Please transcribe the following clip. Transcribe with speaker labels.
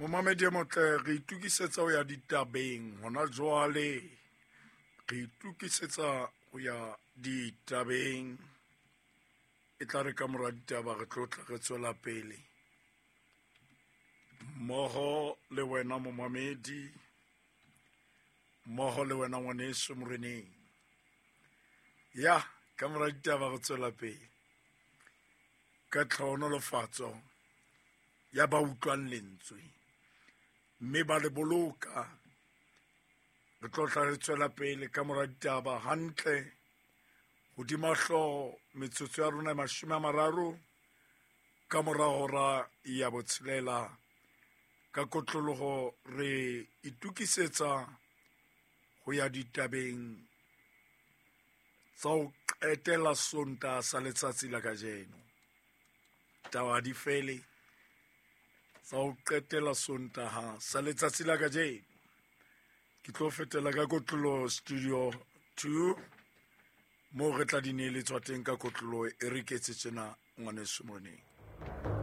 Speaker 1: Momamedi e motle, re itokisetsa ho ya ditabeng hona jwale. Re itokisetsa ho ya ditabeng. E tla re ka mora ditaba re tlo tla re tswela pele mmoho le wena momamedi, mmoho le wena ngwaneso moreneng. Ya ka mora ditaba re tswela pele ka tlhohonolofatso ya ba utlwang lentswe mme ba le boloka. Re tlo tla re tswela pele ka mora ditaba hantle hodima hlooho metsotso ya rona e 30 ka mora hora ya 6. Ka kotloloho re itokisetsa ho ya ditabeng tsa ho qetela Sontaha sa letsatsi la kajeno. Taba di fele tsa ho qetela Sontaha sa letsatsi la kajeno. Ke tlo fetela ka kotlolo studio 2 moo re tla di neeletswa teng ka kotlolo e re ketse tjena ngwaneso moreneng.